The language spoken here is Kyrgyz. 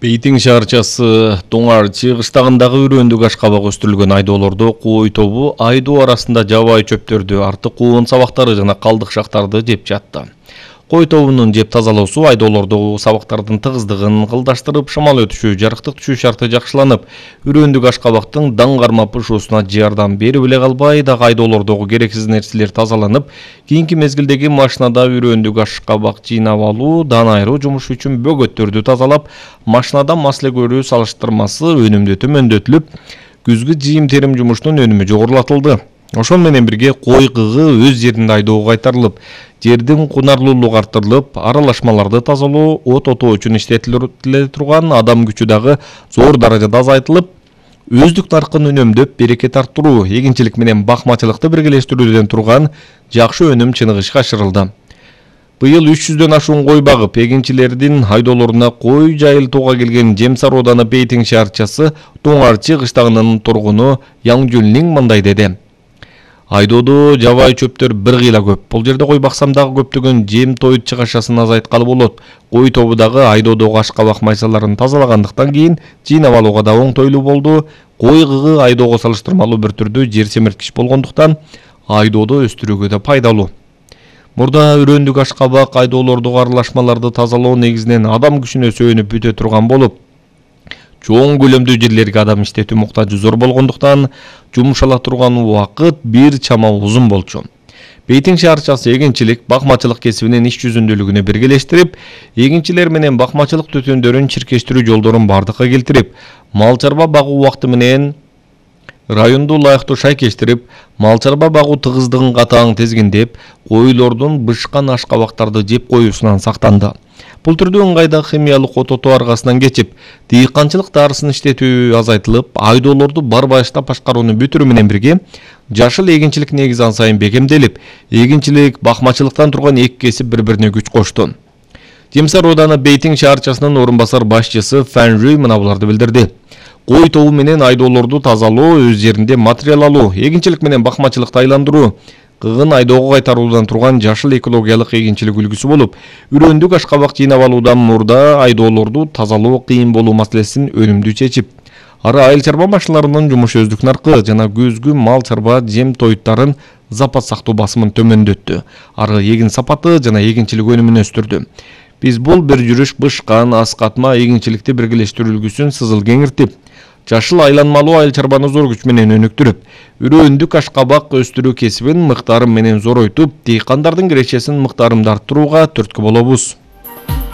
Бейтин шаарчасы Тоңарчы кыштагындагы үрөндүк ашкабак өстүрүлгөн айдоолордо кой тобу айдоо арасында жабайы чөптөрдү, артык куун сабактары жана калдык шактарды жеп жатты. Кой тобунун жеп тазалоосу айдоолордогу сабактардын тыгыздыгын кылдаштырып, шамал өтүшү, жарыктык түшүү шарты жакшыланып, үрөндүк ашкабактын даңгарма пышуусуна жардам берип эле калбай, дагы айдоолордогу керексиз нерселер тазаланып, кийинки мезгилдеги машинада үрөндүк ашкабак жыйнап алуу, дан айыруу жумуш үчүн бөгөттөрдү тазалап, машинада масле көрүү салыштырмасы өнүмдүү төмөндөтүлүп, күзгү жыйым терим жумушунун өнүмү жогорулатылды. Ошол менен бирге кой кыгы өз жеринде айдоого кайтарылып, жердин кунарлуулугу арттырылып, аралашмаларды тазалоо, от отоо үчүн иштетиле турган адам күчү дагы зор даражада азайтылып, өздүк наркын үнөмдөп, берекет арттыруу, эгинчилик менен бакмачылыкты биргелештирүүдөн турган жакшы өнүм чыныгы ишке ашырылды. Быйыл 300дөн ашуун кой багып, эгинчилердин айдоолоруна кой жайылтууга келген Жемсар ооданы Бейтин шаарчасы Тоңарчы кыштагынын тургуну Яңжүлнин мындай деди. Айдоодо жабайы чөптөр бир кыйла көп. Бул жерде кой баксам дагы көптөгөн жем тоют чыгашасын азайткалы болот. Кой тобу дагы айдоодогу ашкабак майсаларын тазалагандыктан кийин жыйнап алууга да оңтойлуу болду. Кой кыгы айдоого салыштырмалуу бир түрдүү жер семирткич болгондуктан айдоодо өстүрүүгө да пайдалуу. Мурда үрөндүк ашкабак айдоолордогу аралашмаларды тазалоо негизинен адам күчүнө сөөнүп бүтө турган болуп, чоң көлөмдүү жерлерге адам иштетүү муктажы зор болгондуктан жумуш ала турган убакыт бир чама узун болчу. Бейтин шаарчасы эгинчилик, бакмачылык кесибинин иш жүзүндүүлүгүнө биргелештирип, эгинчилер менен бакмачылык төтөндөрүн чиркештирүү жолдорун бардыкка келтирип, мал чарба багуу убакыты менен районду ылайыктуу шайкештирип, мал чарба багуу тыгыздыгын катаң тизгиндеп, койлордун бышкан ашкабактарды жеп коюусунан сактанды. Бул түрдүү ыңгайда химиялык от отоо аргасынан кечип, дыйканчылык дарысын иштетүү азайтылып, айдоолорду бар баштап башкарууну бүтүрүү менен бирге жашыл эгинчилик негизи ан сайын бекемделип, эгинчилик, бакмачылыктан турган эки кесип бири-бирине күч кошту. Жемсар ооданы Бейтин шаарчасынын орун басар башчысы Фан Жуй мына буларды билдирди. Кой тобу менен айдоолорду тазалоо, өз жеринде материал алуу, эгинчилик менен бакмачылыкты айландыруу, кыгын айдоого кайтаруудан турган жашыл экологиялык эгинчилик үлгүсү болуп, үрөндүк ашкабак жыйнап алуудан мурда айдоолорду тазалоо кыйын болуу маселесин өнүмдүү чечип, ары айыл чарба машиналарынын жумушу өздүк наркы жана күзгү мал чарба жем тоюттарын запас сактоо басымын төмөндөттү, ары эгин сапаты жана эгинчилик өнүмүн өстүрдү. Биз бул бир жүрүш бышкан, аскатма эгинчиликти биргелештирүү үлгүсүн сызыл кеңиртип, жашыл айланмалуу айыл чарбаны зор күч менен өнүктүрүп, үрөндүк ашкабак өстүрүү кесибин мыктарым менен зоройтуп, дыйкандардын кирешесин мыктарымды арттырууга түрткү болобуз.